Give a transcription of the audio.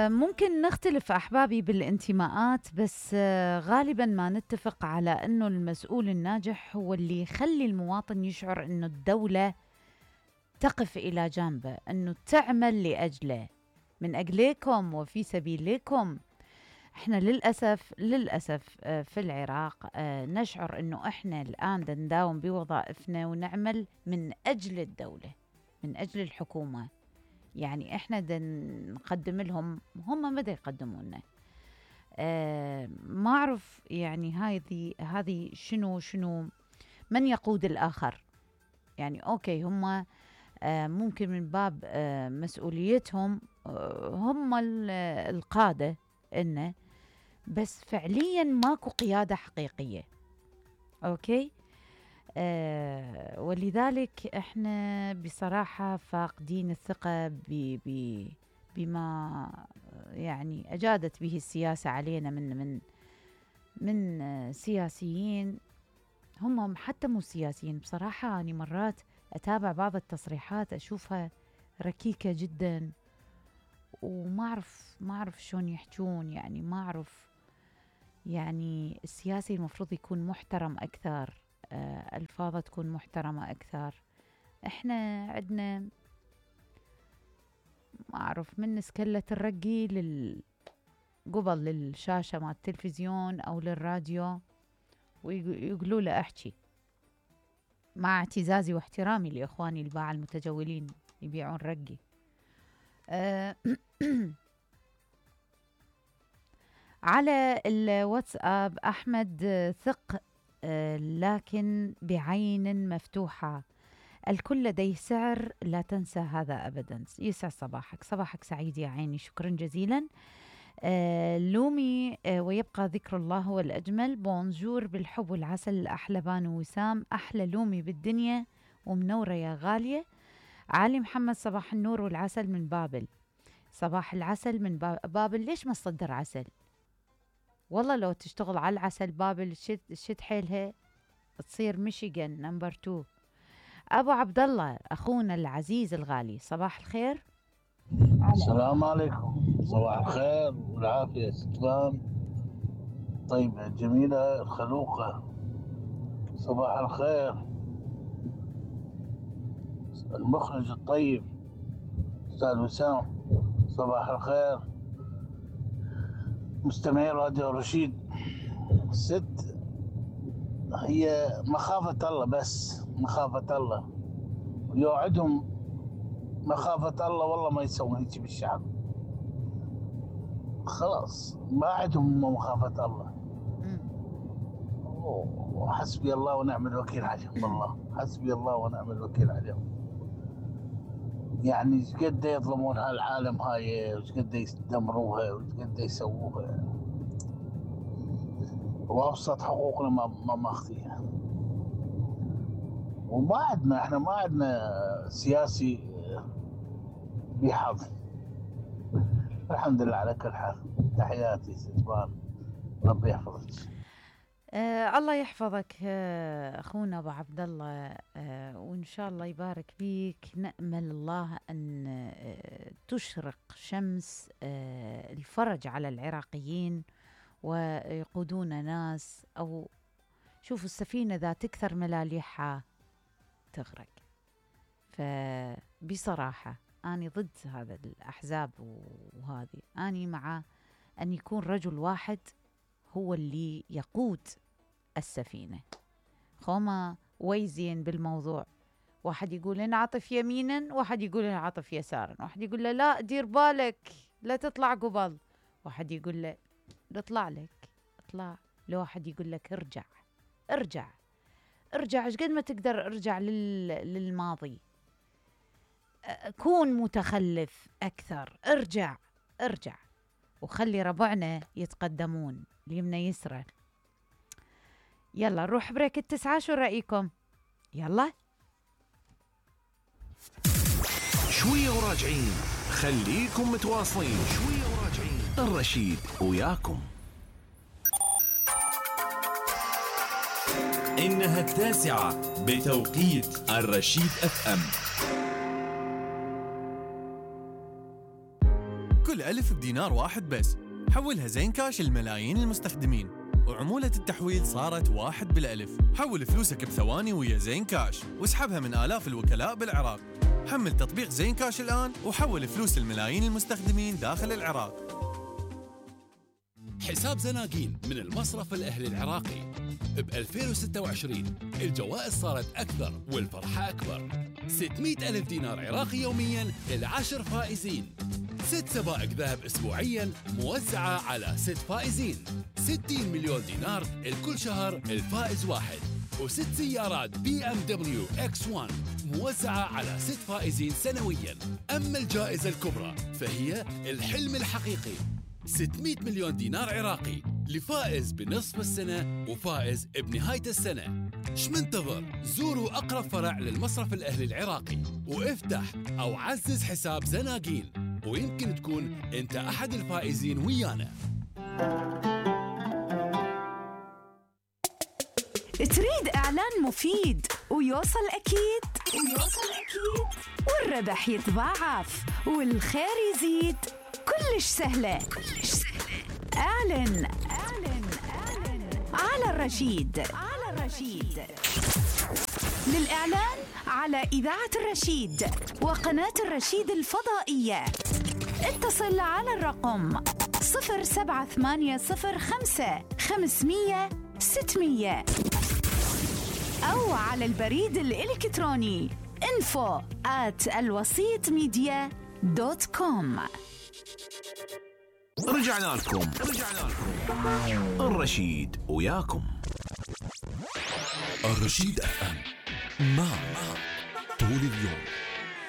ممكن نختلف أحبابي بالانتماءات، بس غالبا ما نتفق على أنه المسؤول الناجح هو اللي يخلي المواطن يشعر أنه الدولة تقف إلى جانبه، أنه تعمل لأجله، من أجلكم وفي سبيلكم. احنا للأسف في العراق نشعر أنه احنا الآن نداوم بوظائفنا ونعمل من أجل الدولة، من أجل الحكومة. يعني احنا نقدم لهم، هم ماذا يقدموا لنا؟ ما أعرف يعني هذه شنو من يقود الآخر؟ يعني أوكي، هم ممكن من باب مسؤوليتهم هم القادة إنه، بس فعليا ماكو قيادة حقيقية. أوكي. ولذلك احنا بصراحة فاقدين الثقة بما يعني أجادت به السياسة علينا من سياسيين. هم حتى مو سياسيين بصراحة، أنا مرات أتابع بعض التصريحات أشوفها ركيكة جدا، وما أعرف شلون يحجون. يعني ما أعرف، يعني السياسي المفروض يكون محترم أكثر، ألفاظه تكون محترمة أكثر. إحنا عندنا ما أعرف من سكلة الرقي قبل للشاشة مع التلفزيون أو للراديو ويقولوا له أحكي، مع اعتزازي واحترامي لإخواني الباعة المتجولين يبيعون رقي. على الواتساب أحمد ثق لكن بعين مفتوحة، الكل لديه سعر، لا تنسى هذا أبدا. يسعد صباحك سعيد يا عيني، شكرا جزيلا. لومي ويبقى ذكر الله هو الأجمل. بونجور بالحب والعسل الأحلى بانو وسام، أحلى لومي بالدنيا ومنورة يا غالية. علي محمد صباح النور والعسل من بابل. صباح العسل من بابل. ليش ما تصدر عسل؟ والله لو تشتغل على العسل بابل شد حيلها تصير ميشيغان نمبر 2. أبو عبد الله أخونا العزيز الغالي، صباح الخير. السلام عليكم. صباح الخير والعافية ستفان طيبة جميلة الخلوقة. صباح الخير المخرج الطيب أستاذ وسام. صباح الخير مستمعي راديو رشيد. الست هي مخافة الله، بس مخافة الله، ويوعدهم مخافة الله والله ما يسوون هيك بالشعب. خلاص ما عندهم مخافة الله. وحسبي الله ونعم الوكيل عليهم، والله حسبي الله ونعم الوكيل عليهم. يعني ايش قد يظلمون هالعالم هاي، وايش قد يدمروها، وايش قد يسووها، وابسط حقوقنا ما ماخذيها. وما عندنا، احنا ما عندنا سياسي بحظ. الحمد لله على كل حال. تحياتي ستبان، ربي يحفظك. الله يحفظك أخونا أبو عبد الله، وإن شاء الله يبارك فيك. نأمل الله أن تشرق شمس الفرج على العراقيين ويقودون ناس، أو شوفوا السفينة ذا تكثر ملاليحها تغرق. فبصراحة أنا ضد هذا الأحزاب، وهذه أنا مع أن يكون رجل واحد هو اللي يقود السفينة. خوما ويزين بالموضوع، واحد يقول أنا عاطف يمينا، واحد يقول أنا عاطف يسارا، واحد يقول له لا دير بالك لا تطلع قبل، واحد يقول له اطلع لك اطلع، لو واحد يقول لك ارجع ارجع ارجع، ايش قد ما تقدر ارجع للماضي، كون متخلف أكثر، ارجع ارجع، وخلي ربعنا يتقدمون اليمنى يسرى. يلا نروح بريك التسعة، شو رأيكم؟ يلا شوية وراجعين، خليكم متواصلين. شوية وراجعين، الرشيد وياكم. إنها 9 بتوقيت الرشيد FM. كل ألف بدينار واحد بس. حولها زين كاش لملايين المستخدمين، وعمولة التحويل صارت 1 بالألف. حول فلوسك بثواني ويا زين كاش، واسحبها من آلاف الوكلاء بالعراق. حمل تطبيق زين كاش الآن وحول فلوس الملايين المستخدمين داخل العراق. حساب زناقين من المصرف الأهلي العراقي. ب 2026 الجوائز صارت أكثر والفرحة أكبر. 600 ألف دينار عراقي يومياً ل10 فائزين. 6 سبائك ذهب أسبوعياً موزعة على 6 فائزين. 60 مليون دينار لكل شهر الفائز واحد. و6 سيارات BMW X1 موزعة على 6 فائزين سنوياً. أما الجائزة الكبرى فهي الحلم الحقيقي، 600 مليون دينار عراقي لفائز بنصف السنة وفائز بنهاية السنة. شمنتظر؟ زوروا أقرب فرع للمصرف الأهلي العراقي وافتح أو عزز حساب زناقين، ويمكن تكون أنت أحد الفائزين ويانا. تريد إعلان مفيد ويوصل أكيد والربح يتضاعف والخير يزيد؟ كلش سهلة. اعلن على الرشيد. للإعلان على إذاعة الرشيد وقناة الرشيد الفضائية اتصل على الرقم 07805 500 600 أو على البريد الإلكتروني info@alwasitmedia.com. رجعنا لكم الرشيد وياكم. الرشيد FM معك طول اليوم.